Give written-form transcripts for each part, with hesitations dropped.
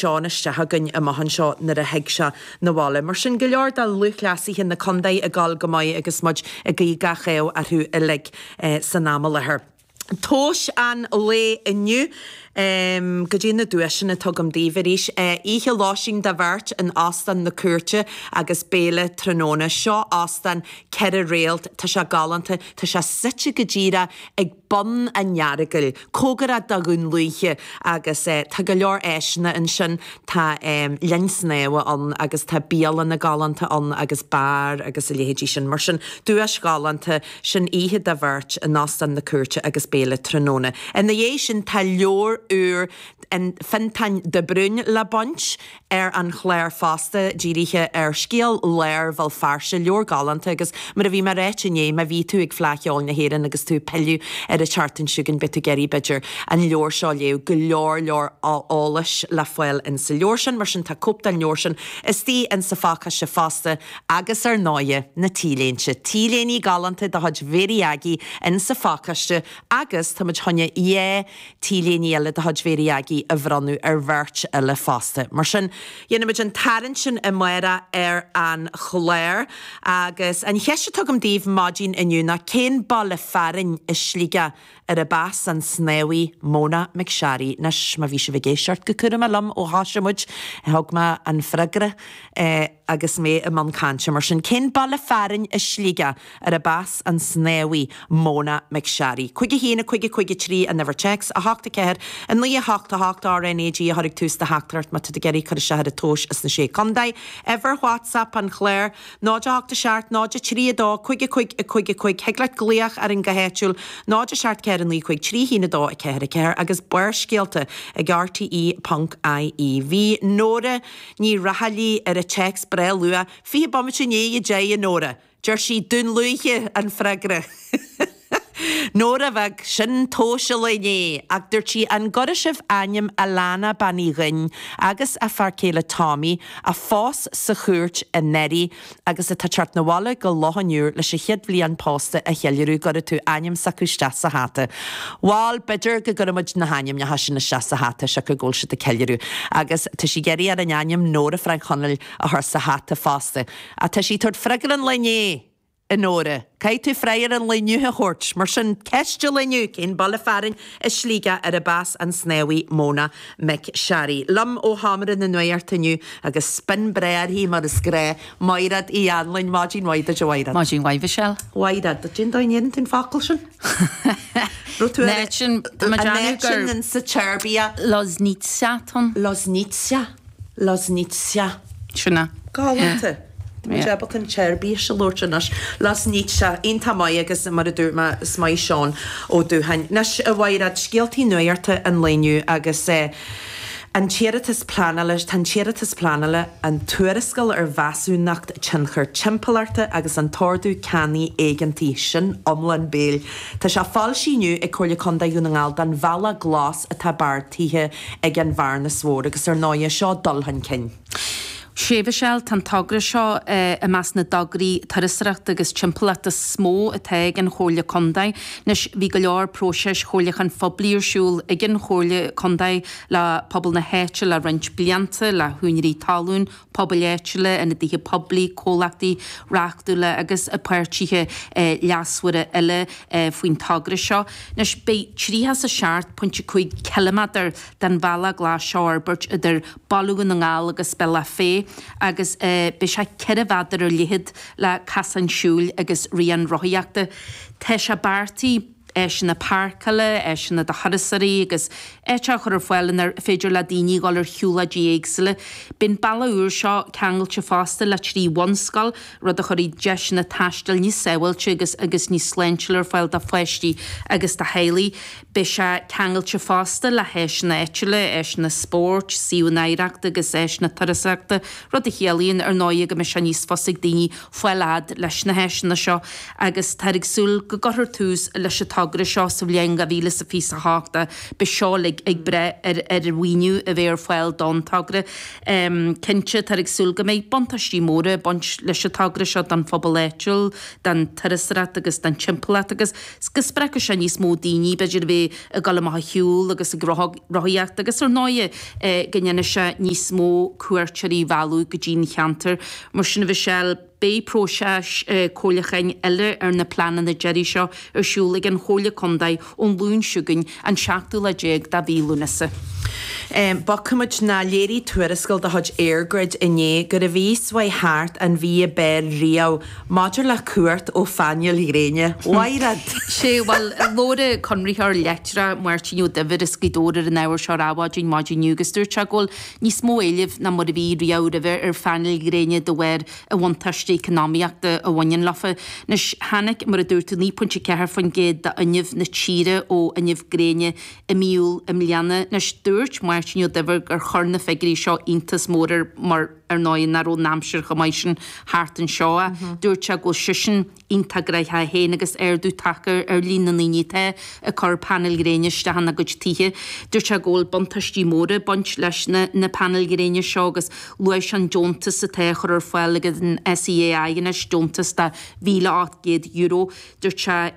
Seán isteach againn amach anseo nuair a thig sé 'na bhaile. Mar sin, go leor de lúthchleasaithe na contae ag dul go maith agus muid ag guí gach ádh orthu uilig san am i láthair. Tomhais an lae inniu, goidé na duaiseanna atá agam daoibh arís. Oíche lóistín do bheirt in Óstán na Cúirte agus béile tráthnóna. Seo óstán 4 réalt, tá sé galánta, tá sé suite go díreach ag bun an Earagail, cóngarach do Dhún Lúiche agus tá go leor áiseanna ansin, tá linn snámha ann agus tá bialanna galánta ann agus beár agus a leithéidí sin. Mar sin, duais ghalánta, sin oíche do bheirt in Óstán na Cúirte agus béile tráthnóna. Ina dhiaidh sin tá leabhar úr Fionntán de Brún le baint. ar an chlár fosta, dírithe ar scéal láir Bhéal Feirste, leabhar galánta agus mar a bhí mé ag ráit inné, má bhí tú ag Fleadh Cheoil na hÉireann agus tú ag pilleadh ar an tseachtain seo chugainn, beidh tú ag iarraidh, b'fhéidir, an leabhar seo a léamh, go leor leor eolais le fáil in sa leabhar sin, mar sin tá cóip den leabhar sin istigh in sa phacáiste fosta agus ar ndóighe, na T-léinte, T-léiní galánta de chuid Mhéirí Aggie in sa phacáiste agus tá muid chun dhá T-léiní eile de chuid Mhéirí Aggie a bhronnadh ar bheirt eile fosta. Mar sin, déanfaimid an tarraingt sin amárach ar an chlár. Agus an cheist atá agam daoibh maidin inniu ná cén baile fearainn i Sligeach arb as an snámhaí Mona McSharry? Anois, má bhí sibh ag éisteacht go cúramach liom ó thoisigh muid, thug mé an freagra agus mé i mbun cainte. Mar sin, cén baile fearainn i Sligeach arb as an snámhaí Mona McSharry. 5 1 5 5 3 an uimhir téacs, 8 4 9 8 8 RNAG a chur ag tús do theachtaireacht má tá tú ag iarraidh cur isteach ar an tomhas sna Sé Contae. Uimhir WhatsApp an chláir, 0 8 7 0 3 2 5 5 5 5 Thig leat glaoch orainn go háitiúil, 0 7 4 9 5 3 1 2 4 4 agus Barrscéalta ag rte.ie. Bhí Nóra Ní Raghallaigh ar an téacs breá luath, 20 bomaite i ndiaidh 10 a Nóra! Deir sí, Dún Lúiche an freagra. Nóra bheag, sin tomhas an lae inné. Ach dúirt sí, an gcuirfidh sibh ainm Alana Bean Uí Dhuinn agus a fear céile Tommy, a phós sa chúirt anuraidh agus atá ag teacht 'na bhaile go Loch an Iúir leis an chéad bhliain pósta a cheiliúradh, gcuirfidh tú ainm s'acu isteach sa hata. Bhal, b'fhéidir go gcuirfidh muid na hainmneacha sin isteach sa hata, siocair go bhfuil siad ag ceiliúradh. Agus tá sí ag iarraidh orainn ainm Nóra Frainc Chonaill a chur sa hata fosta. Ach tá sí ag tabhairt freagra an lae inné, a Nóra. Caithfidh tú freagra an lae inniu a thabhairt. Mar sin, ceist an lae inniu, cén baile fearainn i Sligeach arb as an snámhaí Mona McSharry? Liom ó Sheomra na Nuachta inniu, agus spin breá uirthi mar is gnáth, Maighread Uí Anluain. Maidin mhaith duit, a Mhaighread. Maidin mhaith, Michelle. Mhaighread, cén dóigh a ndéanann tú an focal sin? Raibh tú ar An áit sin, tá mé ag an déanamh áit sin gur in sa tSeirbia? Loznica atá ann. Loznica. Loznica. Sin é. Galánta. Tá muid ábalta an tSeirbís a labhairt anois. Loznica. Iontach maith agus mar a dúirt mé, is maith Seán Ó Dúcháin. Anois, a Mhaighread, scéaltaí nuachta an lae inniu agus an t-iarratas pleanála, tá an t-iarratas pleanála, an tuarascáil ar mheasúnacht tionchair timpeallachta agus an t-ordú ceannaigh éigeantaigh, sin iomlán béil. Tá sé foilsithe inniu ag Comhairle Contae Dhún na nGall don Bhealach Glas atá beartaithe ag an Bhearnas Mhór agus ar ndóighe seo dul chun cinn. Sea, Michelle, tá an togra seo i measc na dtograí turasóireachta agus timpeallachta is mó atá ag an Chomhairle Contae. Anois, bhí go leor próiseas chomhairliúcháin phoiblí ar siúl ag an Chomhairle Contae le pobal na háite le roinnt blianta, le húinéirí talún, pobail áitiúla, ionadaithe poiblí, comhlachtaí reachtúla agus páirtithe leasmhara eile faoin togra seo. Anois, beidh 37.5 ciliméadar den Bhealach Glas seo á fhorbairt idir Baile Dhún na nGall agus Bealach Féich agus beidh sé 4 mhéadar ar leithead le casáin siúil agus rian rothaíochta. Tá sé beartaithe. áiseanna páirceála, áiseanna do thurasóirí agus áit a chur ar fáil inar féidir le daoine dhul ar shiúlóidí éagsúla. Beidh an bealach úr seo ceangailte fosta le 3 bhunscoil, rud a chuirfidh deiseanna taistil níos sábháilte agus agus níos sláintiúla ar fáil do pháistí agus do theaghlaigh. Beidh sé ceangailte fosta le háiseanna áitiúla, áiseanna spóirt, suíomhanna oidhreachta agus áiseanna turasóireachta, rud a chiallaíonn, ar ndóigh, go mbeidh sé níos fusa ag daoine fáil fhad leis na háiseanna seo agus táthar ag súil go gcuirfear tús leis an. togra seo sa bhliain 2028 ach beidh seo uilig ag brath ar ar mhaoiniú a bheith ar fáil don togra. Cinnte, táthar ag súil go mbeidh buntáistí móra ag baint leis an togra seo don phobal áitiúil, don turasóireacht agus don timpeallacht agus go spreagfaidh sé níos mó daoine, b'fhéidir, a bheith ag dul amach ag shiúl agus ag rothaíocht agus ar ndóighe go ndéanfaidh sé níos mó cuairteoirí a mhealladh go dtí'n cheantar. Mar sin a Mhichelle, beidh próiseas comhairliúcháin eile ar na pleananna deiridh seo ar siúl ag an Chomhairle Contae ón Luan seo chugainn, an seachtú lá déag de mhí Lúnasa. Bogfaimid ná léirigh tuarascáil de chuid EirGrid inné go raibh mhí s'uaidh thart an mhí ab fhearr riamh maidir le cumhacht ó phainéil ghréine. Mhaighread! Sé, bhuel, labhair an conraitheoir leictreach Máirtín Ó Duibhir as Gaoth Dobhair ar an ábhar seo ar Adhmhaidin maidin inniu agus dúirt sé go bhfuil níos mó éilimh ná mar a bhí riamh roimhe ar phainéil ghréine de bharr an bhuntáiste eacnamaíochta a bhaineann leofa. Anois, tháinig, mar a dúirt tú, 9.4% d'fhuinneamh na tíre ó fhuinneamh gréine i mí Iúil i mbliana. Anois, dúirt Máirtín Ó Duibhir gur chuir na figiúirí seo iontas mór air mar, ar ndóigh, nach raibh an aimsir chomh maith sin thart anseo. Dúirt sé go bhfuil seisean iontach gnaitheach féin agus ardú tagtha ar líon na ndaoine atá ag cur painéil ghréine isteach ina gcuid tithe. Dúirt sé go bhfuil buntáistí móra ag baint leis na na painéil ghréine seo agus luaigh sé an deontas atá á chur ar fáil ag an SEAI anois, deontas de €1,800. Dúirt sé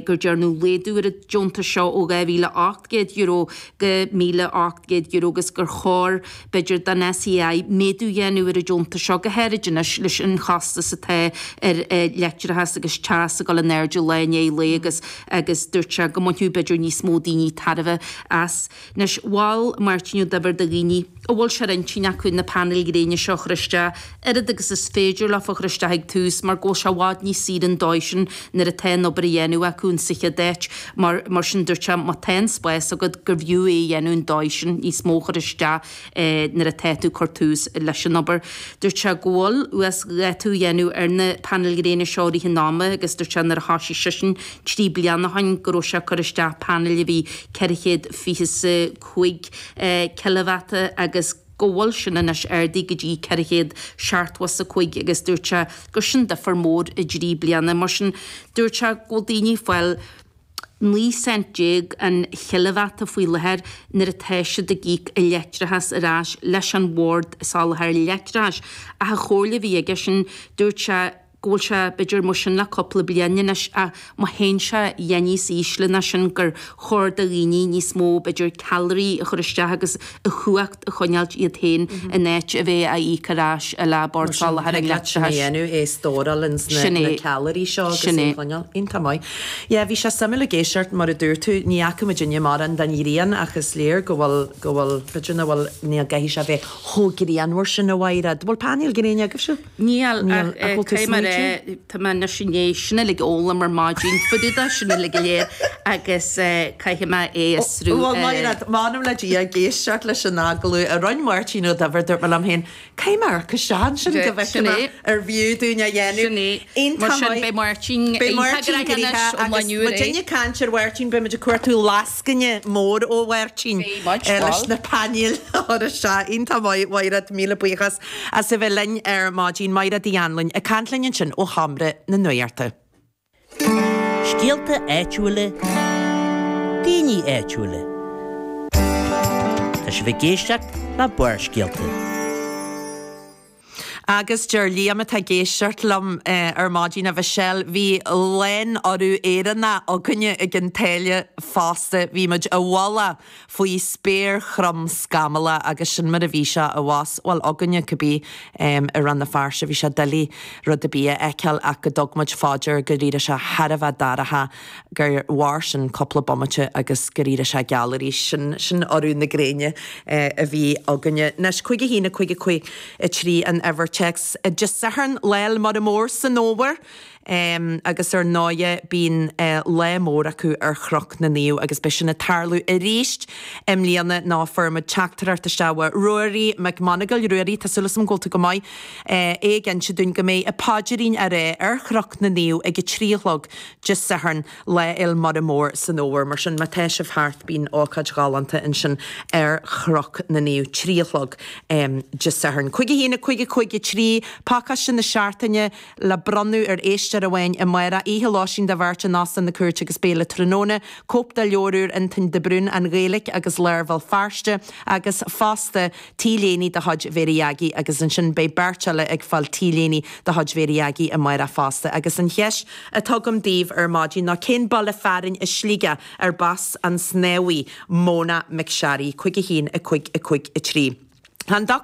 gur dearnadh laghdú ar an deontas seo ó €2,800 go €1,800 agus gur chóir, b'fhéidir, don SEAI méadú a dhéanamh ar an deontas seo, go háirid anois leis an chostas atá ar leictreachas agus teas ag dul in airde lá i ndiaidh lae agus agus dúirt sé go mbainfeadh b'fhéidir níos mó daoine tairbhe as. Anois, mhol Máirtín Ó Duibhir do dhaoine a bhfuil sé ar intinn acu na painéil ghréine seo a chur isteach, oiread agus is féidir leofa a chur isteach ag tús mar go bhfuil sé i bhfad níos saoire an dóigh sin nuair atá an obair a dhéanamh acu in sa chéad áit. Mar mar sin dúirt sé má tá an spás agat gurbh fhiú é a dhéanamh an dóigh sin, níos mó a chur isteach nuair atá tú ag cur tús leis an obair. Dúirt sé go bhfuil uasdhátú a dhéanamh ar na painéil ghréine seo i rith an ama agus dúirt sé nuair a thoisigh seisean 3 bliana ó shin go raibh sé ag cur isteach painéil a bhí 425 cileavata agus go bhfuil sin anois ardaithe go dtí 475 agus dúirt sé gur sin difear mór i dtrí bliana. Mar sin, dúirt sé go bhfuil daoine ag fáil 19 cent an chileavata faoi láthair nuair atá siad ag íoc a leictreachas ar ais leis an Bhord Soláthair Leictreachais. Ach an chomhairle a bhí aige sin, dúirt sé, go bhfuil sé b'fhéidir mar sin le cúpla bliain anois ach má théann sé a dhath níos ísle ná sin gur chóir do dhaoine níos mó b'fhéidir ceallraí a chur isteach agus a chumhacht a choinneáilt iad féin in áit a bheith á íoc ar ais le Bord Mar sin Soláthair an thig leat sin a Leictreachais. dhéanamh, é a stóráil ins na Sin na é. ceallraí seo agus Sin é é. a choinneáil. Iontach maith. Yeah, bhí sé suimiúil ag éisteacht mar a dúirt tú, ní fhaca muidinne mórán den ghrian ach is léir go bhfuil go bhfuil b'fhéidir nach bhfuil ní gcaithfidh sé a bheith chomh grianmhar sin a Mhaighread. Bhfuil painéil gréine agaibhse? Níl, Níl, ach ach bhfuil tú caithfidh mé a rá, smaointiú? tá mé anois i ndiaidh sin uilig a fhoghlaim ar maidin, fá dtaobh de sin uilig go léir agus caithfidh mé é a fhiosrú. Bhuel, Maighread, m'anam le Dia, ag éisteacht leis an agallamh a rinne Máirtín Ó Duibhir, dúirt mé liom féin, caithfidh mé amharc isteach ansin go bhfeicfidh Sin mé é. ar bhfiú dúinn a dhéanamh. Sin é. Mar Iontach sin, maith. beidh Máirtín Beidh iontach Máirtín gnoitheach anois gnoitheach ón lá agus inniu ar muid aghaidh. ag caint ar Mháirtín, beidh muid ag cuartú lascaine mór ó Mháirtín Beidh muid, leis bhuel. na painéil a chur isteach. Iontach maith, Mhaighread, míle buíochas as a bheith linn ar maidin. Maighread Uí Anluain ag caint linn ansin ó Sheomra na Nuachta. Scéalta áitiúla, daoine áitiúla. Tá sibh ag éisteacht le Barrscéalta. Agus deir Liam atá ag éisteacht liom ar maidin, a Mhichelle, bhí lánurú Éireannach againne ag an tsáile fosta, bhí muid i bhfolach faoi spéir throm scamallach agus sin mar a bhí sé abhus, bhuel againne cibé, i Rann na Feirste. Bhí sé doiligh rud ar bith a fheiceáil ach go dtug muid fá dear gur éirigh sé thar a bheith dorcha, gur mhair sin cúpla bomaite agus gur éirigh sé geal arís. Sin, sin urú na gréine a bhí againne. Anois, 5 1 5 5 3 an uimhir téacs. Dé Sathairn, Lá 'le Muire Mór san Fhómhar. Agus ar ndóighe bíonn lá mór acu ar Chnoc na Naomh agus beidh sin ag tarlú arís i mbliana nó fuair muid teachtaireacht isteach ó Ruairí Mac Monagail, Ruairí, tá súil agam go bhfuil tú go maith, é ag inse dúinn go mbeidh an paidrín á rá ar Chnoc na Naomh ag a 3 a chlog Dé Sathairn, Lá Fhéil Muire Mór san Fhómhar. Mar sin má tá sibh thart bíonn ócáid ghalánta ansin ar Chnoc na Naomh, 3 a chlog Dé Sathairn. 5 1 5 5 3, pacáiste na seachtaine. le bronnadh ar éisteoir. éisteoir amháin amárach, oíche lóistín do bheirt in Óstán na Cúirte agus béile tráthnóna, cóip de leabhar úr Antoin de Brún, An Ghaeilge agus Lár Bhéal Feirste, agus fosta T-léine de chuid Mhéirí Aggie agus ansin beidh beirt eile ag fáil T-léine de chuid Mhéirí Aggie amárach fosta. Agus an cheist atá agam daoibh ar maidin ná cén baile fearainn i Sligeach arb as an snámhaí Mona McSharry? 5 1 5 5 3. Tá an Dr.